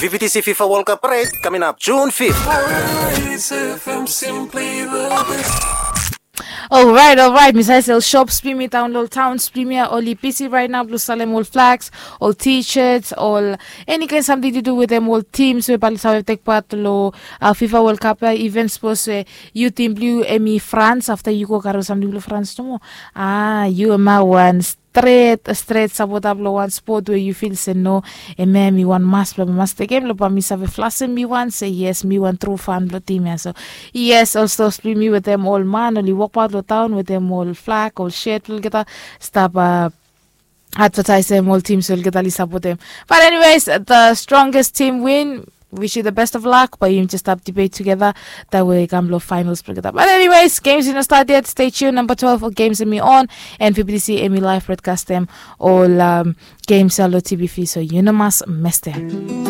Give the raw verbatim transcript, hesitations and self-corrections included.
V V T C FIFA World Cup parade coming up June fifth. Alright, alright. Mi save se ol shops blong yumi daon long ol towns blong yumi ya oli bisi raet nao blong salem ol flags, ol t-shirts, ol eni kaen samting tu du wetem ol teams we bae oli save tek pat long uh, FIFA World Cup ya. Even sapos we yu tim blong yu emi France, afta yu go karem samting blong France nomo, ah, yu ema wan stret stret sapota blong wan spot we yu fil se no, ema emi wan mas blong mi mas tekem blong bae mi save flasem mi wan se yes, mi wan tru fan blong tim ya. So yes, ol stores blong yumi wetem ol man oli wokbaot long taon wetem ol flag, ol shet blong olgeta stap uh, advertaisem ol teams we olgeta oli sapotem. But anyways, the strongest team win. Wish you the best of luck, but yumi just stap debate together that we kam long finals blong olgeta. But anyways, games i no start yet. Stay tuned. Number twelve o games emi on, and V B T C emi live broadcastem ol um, games ya long T V fi, so yu no mas mestem.